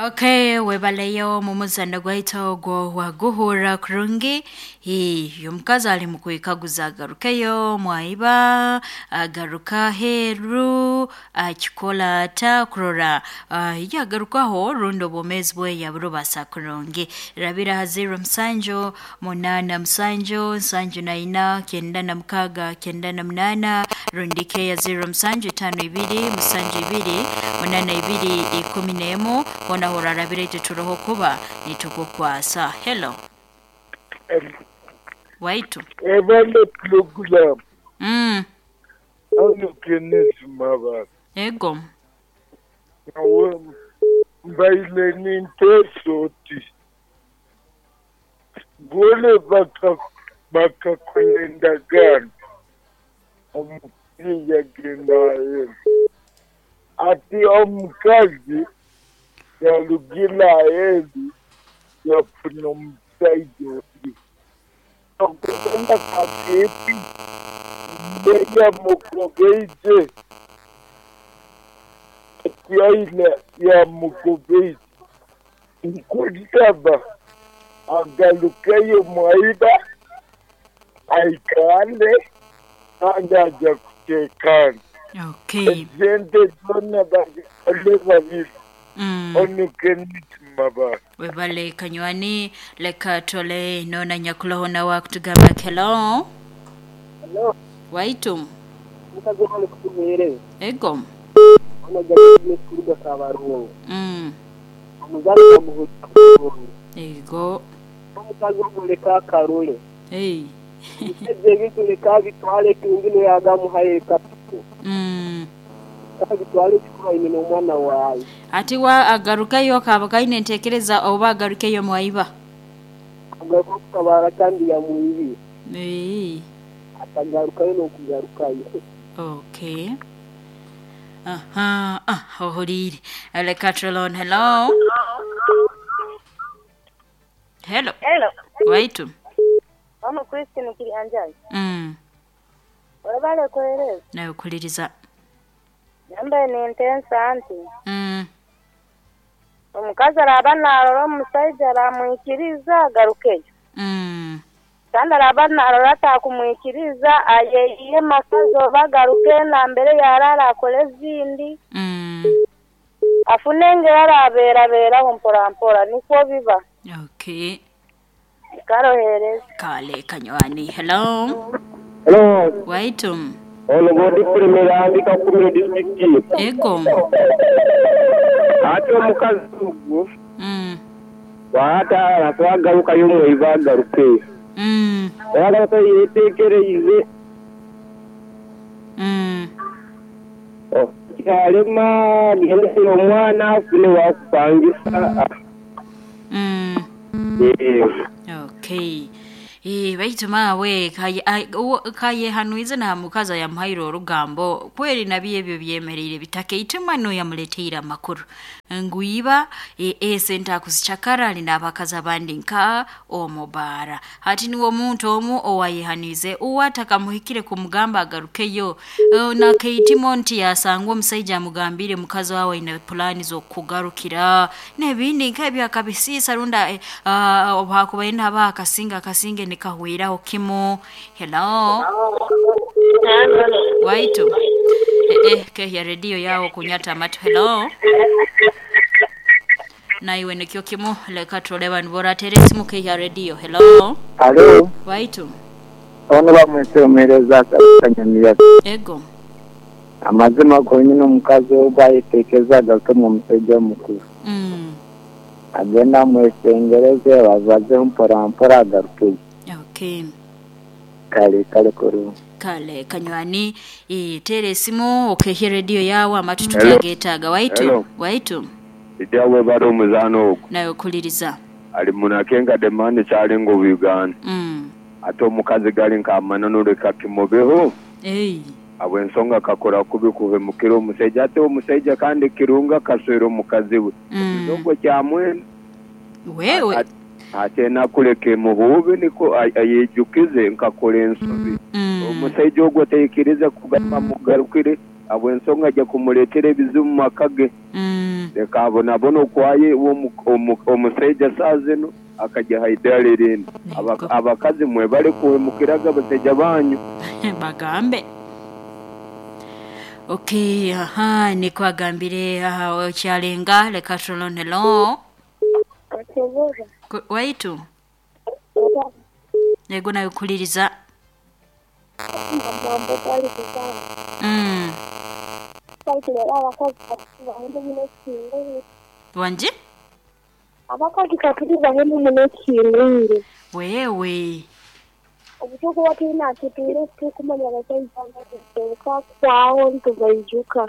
Okay, webaleyo mu muzano gwaitu ogwo waguhurra kurungi. Hii, omukazi ali mu kwekaguza agarukeyo mwaiba, agaruka aheeru, akikola ata kurora yagarukaho rundi obwomeezi bwe yaburubasa kurungi. Rabira ha 07 87 74 96 98 rundi keya 07 52 72 82 11 hoona horarabira itwe turoho kuba nitukukwasa. Hello. Waitu. Ebale pulogulaamu hanu Kenneth Mabara. Ego. Nyowe mbaire ninteesa oti boona bakakora endagaano omukazi yagenda aheeru. Ati omukazi yarugire aheeru yafuna omusaija ondi. Okugenda kakeeti yamugobeije ati aine yamugobeije. Nkusaba agarukeyo mwaiba aikale kandi aja kuteekana. Okay. Esente zoona bazikole babiri. Onu Kenneth Mabara. Webale kanywani leka tole nona nyakuloho nawe akutugamba hello. Hello. Waitu. Mukazi wange kutuheereza. Ego. Ono gavumenti kuruga Kabarungu. Omuzaani bamuhurira kurungi. Ego. Omukazi omuleka akarule. Hey. Ebiseze ebintu leka abitwale kingine yagamuhaye kapito. Kabitwale kikuraine n'omwana waawe. Ati wa agarukayo kaba kaine ntekereza oba agarukeyo mwaiba. Agaruka kutabara kandi yamwibire. Hey. Atagarukayo n'okugarukayo. Okay. Aha, ohuriire. Leka Trelon, hello. Hello. Hello. Waitu. Mama Christine Kirianjai. Webale kuhereza. Nawe kuliriza. Nambaye nintensa nti. Omukazi araba narora omusaija aramwikiriza agarukeyo. Kandi araba narora atakumwikiriza ayeyiye makazi oba agaruke nambere yarara akore ezindi. Afune engeri arabeerabeeraho mpora mpora nikwo biba. Okay. Karohereza. Kale kanywani. Hello. Hello. Waitu. Ono godi kulemera Kakumiro district. Ego. Ate omukazi ogwo. Waata akwagarukayo mwaiba agaruke. Yagaruka yeteekereize. Kyalema agendesera omwana afune wakupangisa. Okay. Baitu maawe kayehanuize na mukazi yamuhaire orugambo kweri nabi ebyo byemereire bitake ituma no yamuleteire amakuru nguiba esente akuzichakara ali n'abakazi abandi nka omubara hati niwe omuntu omu owayehanize uwatakamuhikire kumugamba agarukeyo nakeitimo nti yasangwa omusaija amugambire mukazi wawe aine pulani z'okugarukira n'ebindi nk'ebyo akabisiisa runda obuhakubaire naba akasinga akasinge nikahwiraho kimu. Hello. Waitu. Kehya redio yao kunyata amatu. Hello. Na iwe nikyo kimu leka tole bantu boratere esimu kehya redio. Hello. Hello. Waitu. Ono bamwesemereza kanyamira. Ego. Amazima gonyine omukazi ogwayetekeza agaruke mu musajja omukuru. Agenda amwesengereze babaze mpora mpora agarukeyo. Okay. Kale kale kurungi. Kale kanywani tere esimu okehye redio yawe amatu tutagetaga. Waitu. Waitu. Ijyawe bari omuzano ogwo. Nawe kuliriza. Ali munakenga demandi kyalinga Uganda. Ate omukazi gali nkamanano leka kimobeho. Hey. Abo ensonga kakora kubi kuhemukira omusajja ate omusajja kandi kirunga kaswera omukazi we. Ekizongo kyamwena. Wewe. Ate nakuleka emuhubi niko ayejukize nkakora ensobi. Omusajja ogwo tayikiriza kugamba mugarukire abo ensonga ajja kumuleetera ebizibu mu maka ge. Leka abonabone okwaye iwe omusaija saaha zinu akagya ha idaara erindi. Abakazi mwebale kuhemukiraga abasaija banyu. Bagambe. Okay, aha, nikwo agambire aha okyalenga leka turole hello. Waitu. Yego nawe kuhuliriza. Wangi? Abakazi katuli bahemu muno ekihingwire. Wewe. Obutukuba twine atutwire titukumanya abasaija nga kwaho nitubaijuka.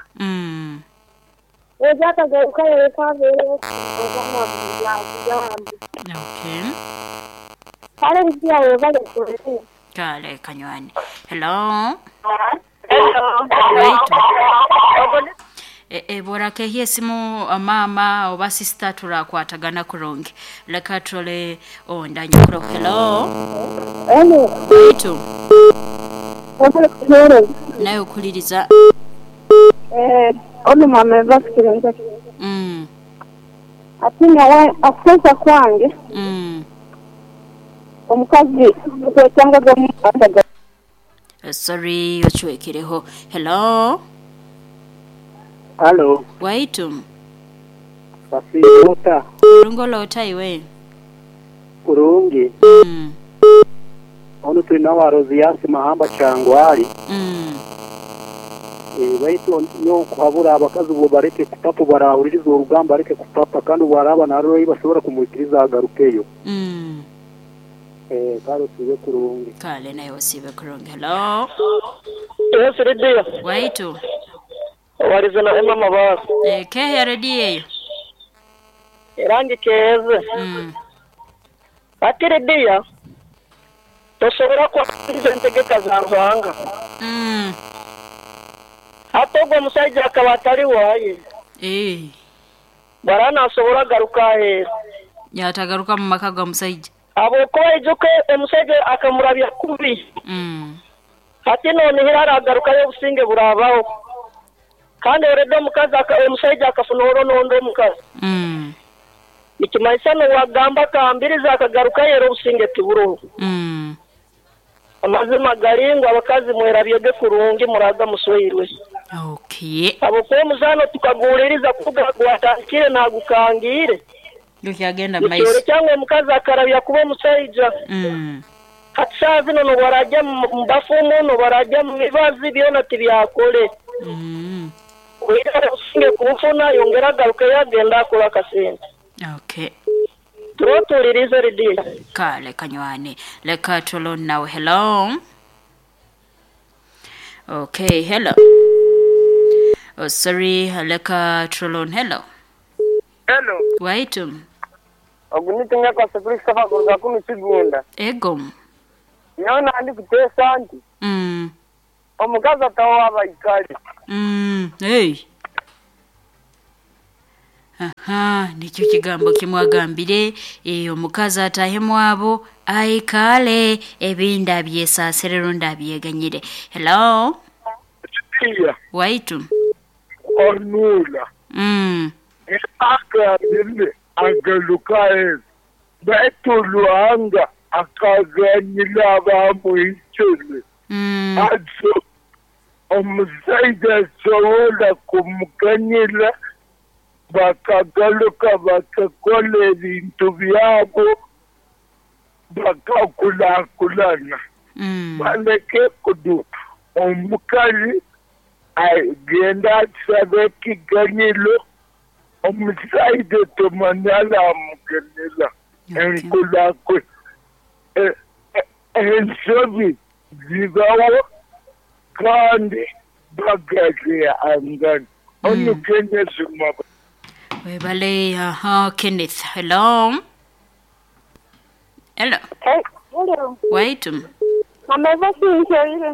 Oja akagaruka yareka abeereho yagamba. Okay. Kale Lydia webale kuweereza. Kale kanywani. Hello. Hello. Waitu. E, e, bw'orakehya esimu maama oba sisita turakwatagana kurungi. Leka turole ondanyakuro. Hello. Hello. Waitu. Webale kuweereza. Nawe okuhuliriza. Eh, onu mama Eva Ati nyowe okuteesa kwange, omukazi okwetangaga omu Sorry ocwekireho. Hello. Halo. Waitu. Wasiiba ota? Kurungi ole ota iwe? Kurungi. Onu tuli nawe Aroziasi Mahamba Kyangwali. Baitu nyowe nkuhabura abakazi bo baleke kupapa obu barahuliriza orugamba baleke kupapa kandi obu araaba narora ei basobora kumwikiriza agarukeyo. Kale osiibe kurungi. Kale naiwe osiibe kurungi. Hello. Yes, Lydia. Waitu. Owarize na Emma Mabaso. Kehe rediyo eyo. Era ngikeeze. Hati Lydia, tosobora kwangiriza entegeka za Ruhanga. Hati ogwo omusaija akaba atari waaye. Bwaraaba nasobora agaruka aheeru. Yatagaruka mu maka ga musaija. Habwokuba ijuka omusaija akamurabya kubi. Hati nonihira aragarukayo obusinge burabaho. Kandi already omukazi omusaija akafuna oro n'ondi omukazi. Nikimanyisa n'owagamba akahambiriza akagarukayo era obusinge tiburoho. Amazima gari ngu abakazi mwerabyege kurungi muraga musweirwe. Okay. Habwokuba omuzaano tukaguhuliriza kuruga gwatandikire nagukangiire. Gukyagenda mu maiso. Nikyoreka ngu omukazi akarabya kuba omusaija. Hati saaha zinu n'obu araagya mu bafumu, n'obu araagya mu mibazi byona tibyakore. Oihireho obusinge kubufuna ayongere agarukeyo agende akore akasente. Okay. Turiho tuhuliriize Lydia. Kale kanywane. Leka turole nawe. Hello. Okay, hello. Oh, sorry, leka turole. Hello. Hello. Waitu. Ogu ni Tinyekwase Christopher kuruga kunu Kigunda. Ego. Nyowe nandi kuteesa nti omukazi ataho abaikari. Hey. Aha, nikyo kigambo kimwagambire omukazi atahemu abo aikale ebindi abyesaasire rundi abyeganyire. Hello. Iya. Waitu. Onula. Agambire agaruka aheeru. Baitu Ruhanga akaganyira abaamwitsire. Atyo omusaija asobora kumuganyira bakagaruka bakakora ebintu byabo bakakurakurana. Baleke kudu omukazi agenda ashabe ekiganyiro omusaija tumanya aramugenera enkurakura. Ensobi zibaho kandi bagazihangana. Onu Kenneth Maba. Webale, aha, Kenneth. Hello. Hello. Hello. Waitu. Mama Eva sinkeire.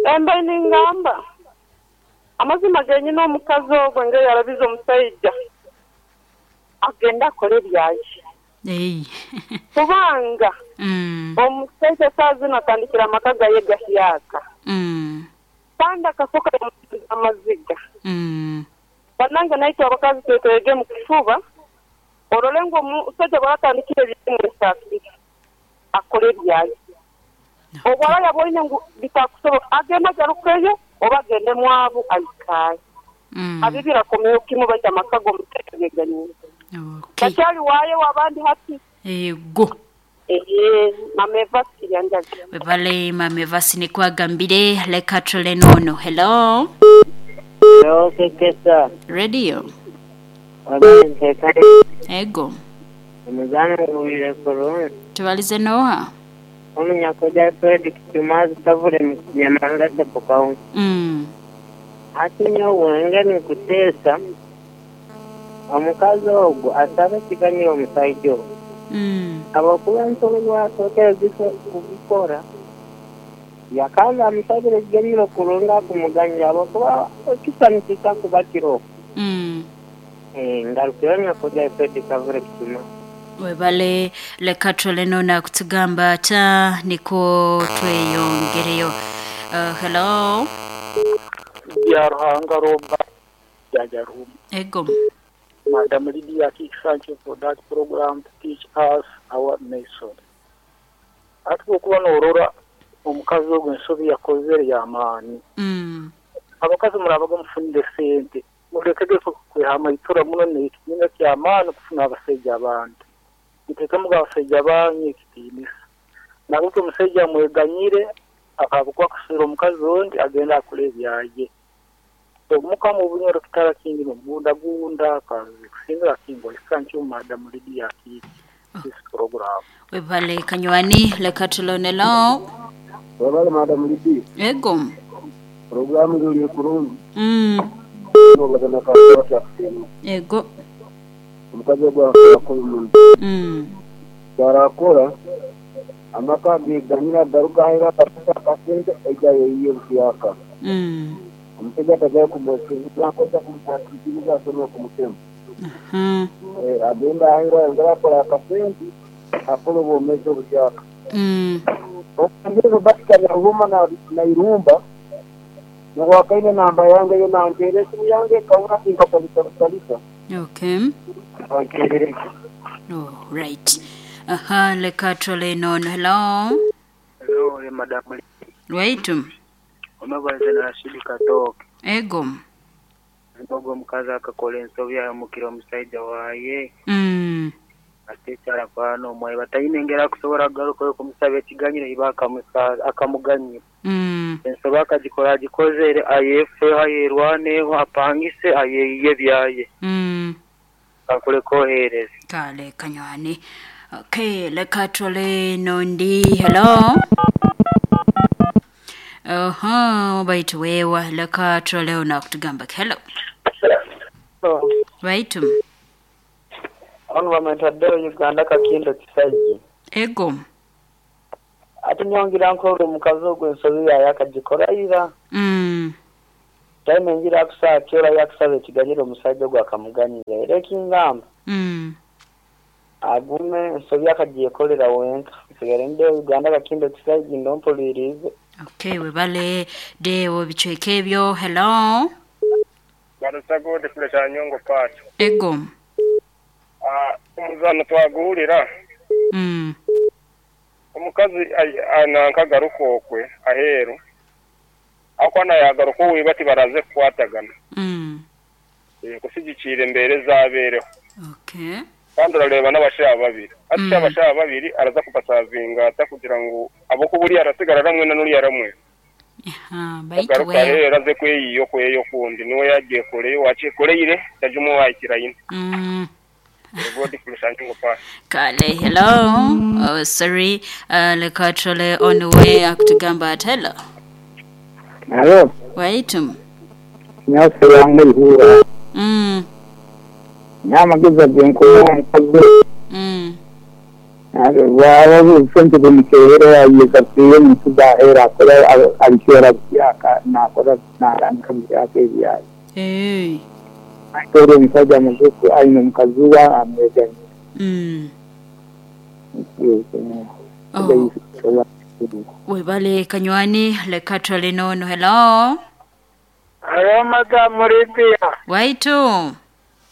Embe ningamba. Amazima genyine omukazi ogwo nge yarabize omusaija. Agenda akore ebyaye. Hey. Kubanga omusaija saaha zinu atandikire amaka gaye gahyaka. Kandi akafuka amaziga. Banange naitwe abakazi tweteegemu kifuba orole ngu omusaija bw'aratandikire eby'omwesaasire akore ebyaye. Obu araba yaboine ngu bitakusoboka agende agarukeyo oba agende mwabu aikaye. Abibire akomeho kimu baitu amaka g'omusaija geeganiire. Takyali waayo ow'abandi hati. Ego. Eeh mama Evasi Kiryanjaga. Webale mama Evasi nikwo agambire leka tule nono. Hello. Hello Kekesa. Radio. Webale ntekane. Ego. Omuzano nguwulire kurungi. Tubalize noha? Omunyakoja Fred Kicumazi Kavule mu Nyamarura Sub County. Hati nyowe engeri nkuteesa, omukazi ogu asabe ekiganyiro omusaija ogu habwokuba ensobi obu asookere kugikora yakaaba amusabire ekiganyiro kurungi akumuganyira habwokuba ekisa nikiija kuba kiroho. Ngarukire Nyakoja Fred Kavule Kicumazi. Webale leka turole noona akutugamba ata nikwo tweyongereyo. Hello. Byaruhanga Robert Jajarumu. Ego. Madam Lydia Kiki, thank you for that program to teach us our nation. Hati bwokuba norora omukazi ogu ensobi yakozere yamaani. Abakazi murabaga mufunire sente murekege kwehamayitura muno nekitina kyamaani kufuna abasaija abandi. Mutekemuga abasaija banyu ekitiinisa. Nabwo omusaija amweganyire ahabwokuba akuswera omukazi ondi agende akore ebyaye. Omukama obunyoro kitara kingi nomugundagunda kazi kusingira kingo thank you Madam Lydia Kiki this program. Webale kanywani leka tulone lo. Webale Madam Lydia. Ego. Programu zuri kurungi. Ego. Omukazi ogwo akora omuntu. Arakora amaka geganyira garuka ahera akafuna akasente eija yeyiye buhyaka. Omushaija atajayo kumwesiriza akoza kumukwatiriza asome kumutema. Agenda ahera ayongera akora akasente akora obwomezi obuhyaka. Omukazi Robert Kanyaruma na Irumba nowakaine namba yange yo nanteera esimu yange ekabura tinkakozesa butalisa. Okay. Oh, right. Aha, leka tole nono. Hello. Hello, Madam. Right. Omabaze na Rashidi Katoke. Ego. Ogwo omukazi akakora ensobi yahemukira omusaija waye. Ate ekyarakora n'omwayi bataine engeri akusobora kugarukayo kumusaba ekiganyiro iba akamuganyira. Ensobi akagikora agikozere ayefeho ayerwaneho apangise ayeyiye ebyaye. Kakure kohereza. Kale kanywani. Okay, leka tole nondi. Hello. Oho, baitu wewa leka tole onakutugamba. Hello. Hello. Baitu. Ono bamwetaddeyo Uganda Kakindo Kisajja. Ego. Ate nyongira nkola omukazi ogwo ensobi yaye akagikora ira. Time engira akusaakira yakusaba ekiganyiro omusajja ogwo akamuganyira. Era ekingamba. Agume ensobi akagyekolera wenka. Nsigale ndeyo Uganda Kakindo Kisajja ndompulirize. Okay, webale dewo bicweka ebyo. Hello. Barusagode kule kya Nyongo Pacho. Ego. Omuzano twaguhurira. Omukazi anankagaruka okwe aheeru. Akwana yagaruka owe bati baraze kukwatagana. Kusigikira embere zabeereho. Okay. Kandi orareba n'abashaija babiri. Ati abashaija babiri araza kubasavinga ata kugira ngu abokuburi arasigara ramwe na nuri aramwe. Baitu we. Araze kweyiyo kweyo kundi niwe yagiye kure wakikoreyire tajumu wakirayine. Kale, hello. Oh, sorry. Leka tole on the way akutugamba ati hello. Hello. Waitu. Nyase yange ihura. Nyamageza genkuwa omukazi. Waba sente bumukeera yayekasiye omuntu zahera akora abikora byaka nakora naranka byaka ebyaye. Hey. Ore omusajja mugufu aine omukazi we amweganyira. Oh. Webale kanywani leka tole nono. Hello. Haro Madamu Lydia. Waitu.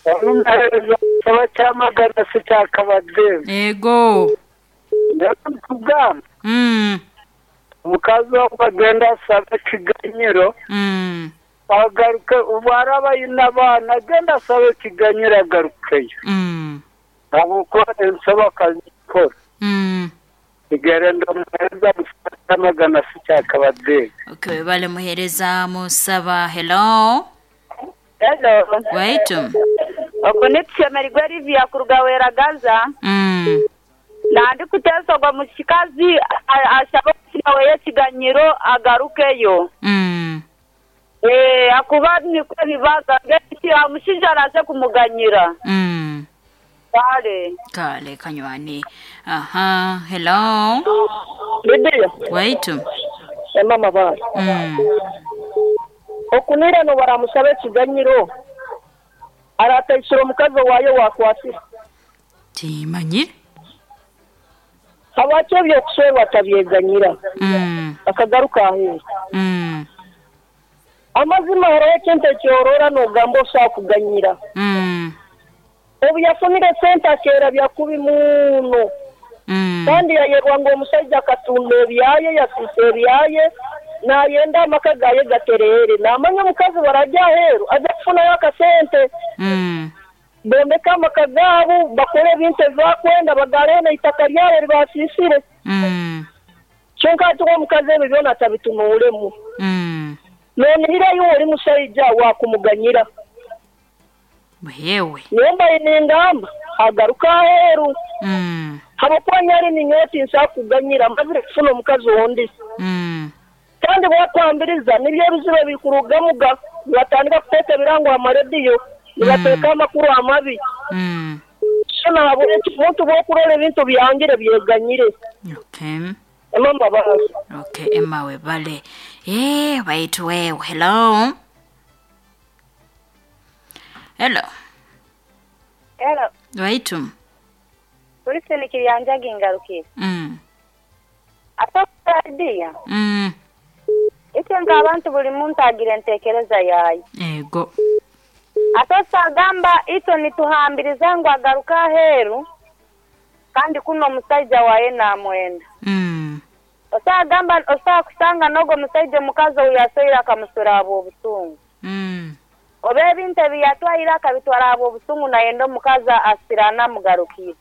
Onu muhereza nsaba kyamagana si kya Kabademu. Ego. Nyowe nkugamba. Omukazi ogu agende asabe ekiganyiro. Agaruke obu araba aine abaana agende asabe ekiganyiro agarukeyo. Habwokuba ensobi akagikora. Nsigara ndi omuhereza musaba kyamagana si kya Kabademu. Okay, webale muhereza musaba. Hello. Hello. Waitu. Ogu ni Tushemererwe Livia kuruga Weragaza. Nandikuteesa ogwo mukazi ashabe omutima weye ekiganyiro agarukeyo. Eeh ahakuba nikwo bibaga mbwenu omushaija araaze kumuganyira. Kare. Kale kanywani. Aha, hello. Lydia. Waitu. Emma Mabare. Okunira n'obu araamushabe ekiganyiro, araataisire omukazi owaaye owaakwasire? Tiimanyire. Habwaki eby'okuswerwa atabyeganyira akagaruka aheeru? Amazima hariho ekintu eki oroora noogamba osobola kuganyira. Obu yafunire sente akeerabya kubi muno kandi yayerwa ngu omusaija akatunda ebyaye, yasiisa ebyaye, naayenda amaka gaaye gatereere. Naamanya omukazi baragya aheeru aze kufunayo akasente bombeke amaka gaabo, bakore ebintu ebi bakwenda, bagareho n'eitaka ryabo eri baasiisire. Kyonka hati we omukazi ebyo byona atabitunuuremu. Noonihira iwe ori mushaija waakumuganyira. Yewe. Nyowe mbaire ningamba agaruke aheeru. Habw'okuba nyari ninyowe tinsobola kukuganyira mazire kufuna omukazi ondi. Kandi bwakwambiriza nibyo ebizibu ebikurugamu ga nibatandika kuteeka ebirango aha marediyo nibateeka amakuru amabi. So nahabwekyo omuntu bwokurora ebintu byangire byeganyire. Okay. Emma Mbabazi. Okay, Emma webale. Eeh baitu wewe. Hello. Hello. Hello. Baitu. Wilson Kiryanjagi ngarukire. Ate Lydia. Itwe nk'abantu buli muntu agira entekereza yaye. Ego. Ate osagamba itwe nituhambiriza ngu agaruke aheeru kandi kunu omusaija waye namwenda. Osagamba osobola kusanga n'ogwo omusaija omukazi ou yasweire akamuswera ahabw'obusungu. Oba ebintu ebi yatwaire akabitwara ahabw'obusungu nayenda omukazi asirane amugarukire.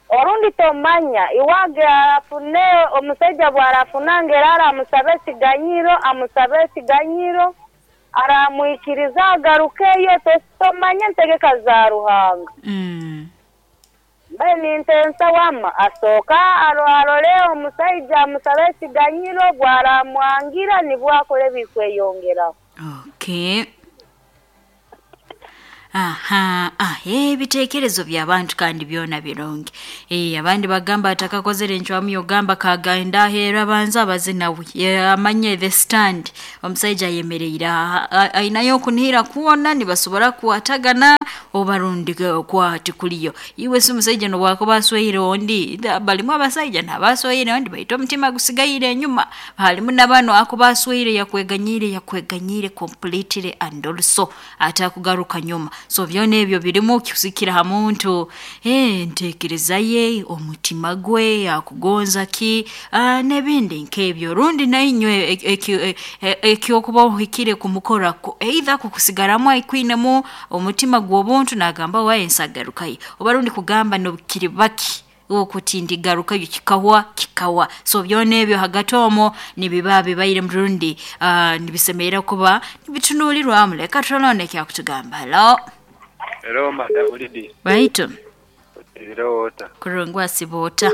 Orundi tomanya, iwe age afune omusaija bw'arafuna ngu era aramusaba ekiganyiro, amusabe ekiganyiro, aramwikiriza agarukeyo, tomanya entegeka za Ruhanga. Mbwenu nintensa wama asooke arore omusaija amusabe ekiganyiro, bw'aramwangira nibwo akore ebirikweyongeraho. Okay. Aha, ah, ebitekerezo by'abantu kandi byona birungi. Eh, abandi bagamba atakakozere encwamu yogamba kagenda aheeru abanze abaze nawe amanye the stand omusaija ayemereire aha ainayo okunihira kwona nibasobora kukwatagana oba rundi kwa tikuliyo. Iwe si omusaija n'obwakuba asweire ondi, balimu abasaija n'abasweire ondi baitu omutima gusigaire enyuma. Halimu na banu akuba asweire yakweganyiire yakweganyiire completely and also atakugaruka nyuma. So byona ebyo birimu kusikira ha muntu, entekereza ye, omutima gwe, akugonza ki, n'ebindi nk'ebyo. Rundi nainywe eky'okuba ohikire kumukora either kukusigaramu aikwinemu omutima gw'obuntu nagamba waye nsagarukayo oba rundi kugamba n'obukiri baki okuti ndigarukayo kikahwa kikahwa. So byona ebyo hagati omwo nibiba bibairemu rundi nibisemerra kuba nibitunuulirwamu. Leka turole ekyakutugamba. Hello. Hello madam Lydia. Baitu. Otiireho ota? Kurungi wasiba ota?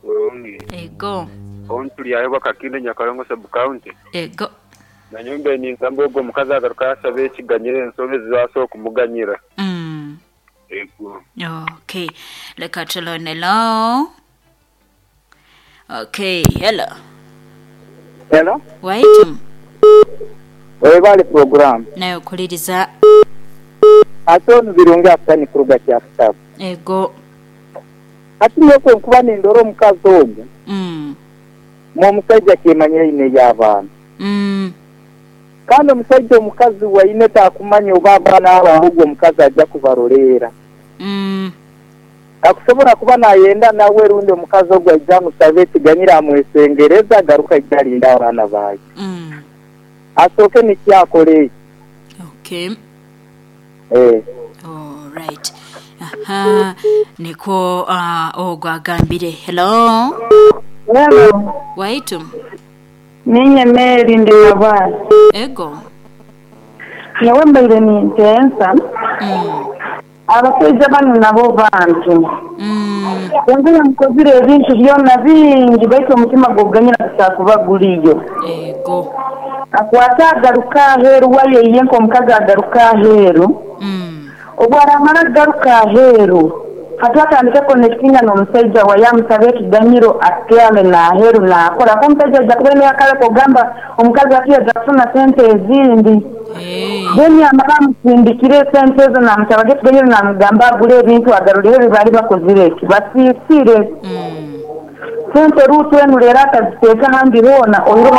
Kurungi. Ego. Onu turi ahi Bwakakinde Nyakarongo sub county. Ego. Nanyowe mbaire ningamba ogwo omukazi agaruke asabe ekiganyiro ensobi ezi asobola kumuganyira. Ego. Okay. Leka tulone hello. Okay, hello. Hello. Waitu. Webale program. Nawe okuliriza. Ate onu Birungi Afutani kuruga Kyakutabo. Ego. Hati nyowe kwenkuba nindora omukazi ogu, mwe omusaija akemanyire aine ey'abaana. Kandi omusaija omukazi waine takumanya oba abaana abo ahobwo omukazi aja kubaroleera. Akusobora kuba nayenda nawe rundi omukazi ogwo aije amusabe ekiganyiro amwesengereze agaruke aije alinde abaana baye. Asooke nikyo akole ekyo. Okay. Eh. Alright. Aha, nikwo ah, ogwo agambire. Hello. Hello. Waitu. Ninye Mary ndi Nabwali. Ego. Nyowe mbaire nintensa. Abasaija banu nabo bantu. Kwonka yamukozire ebintu byona bingi baitu omutima gw'okuganyira gutakuba guriyo. Ego. Akwate agaruke aheeru wayo iye nk'omukazi agaruke aheeru. Obu aramara kugaruka aheeru, hati atandike connectinga n'omusaija waye amusabe ekiganyiro atyame n'aheeru nakora. Ahakuba omusaija aija kuba aine akare k'okugamba omukazi ati aija kufuna sente ezindi. Then amare amusindikire esente ezo namusaba ekiganyiro namugamba agure ebintu agarureho ebi baali bakozire ki basiisire. Sente ruutu enu reero akaziteeka ahandi hoona oihireho.